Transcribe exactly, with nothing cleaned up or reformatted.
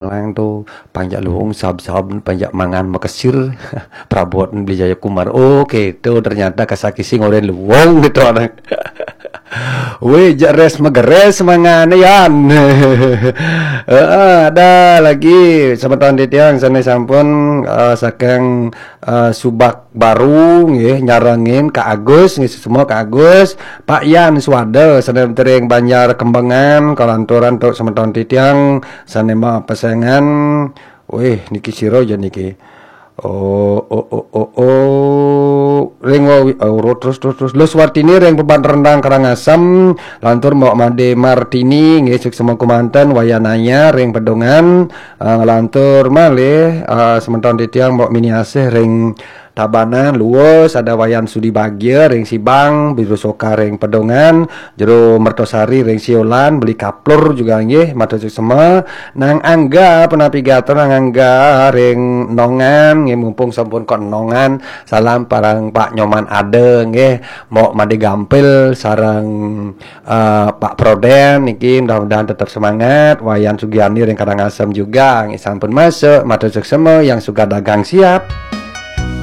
Lang tu panjak luung sab-sab panjak mangan makesir. Prabot beli Jaya Kumar. Oh, gitu ternyata kasakising orang luung gitu anak. Weh, jeres megeres mangan yan. Heeh, ada lagi semeton titiang sana sampun uh, saking uh, Subak Baru nggih nyarengin Kak Agus nggih semua Kak Agus, Pak Yan Swada sané tering Banjar Kembangan kalanturan tuk semeton titiang sané mau pesengan. Wih, niki sira ya niki. Oh, oh, oh, oh, oh. Ring wawi, oh, terus, terus, terus. Lus Wartini ring Peban Rendang Karangasem, lantur Mbok Made Martini, nggih suksema kumanten Wayanaya ring Pedungan, uh, lantur malih uh, semeton titiang Mbok Mini Asih ring Tabanan, Luwus, ada Wayan Sudi Bagia ring Sibang, Biru Soka ring Pedungan, Jero Mertosari ring Siolan, Beli Kaplur juga nggih, matur suksema. Nang Angga, punapi gatra Nang Angga ring Nongan, nggih mumpung sampun kon Nongan, salam parang Pak Nyoman Ada nggih, Mbok Made Gampil sareng uh, Pak Proden niki mudah-mudahan tetap semangat. Wayan Sugiani ring Karangasem juga nggih sampun masuk, matur suksema yang suka dagang siap.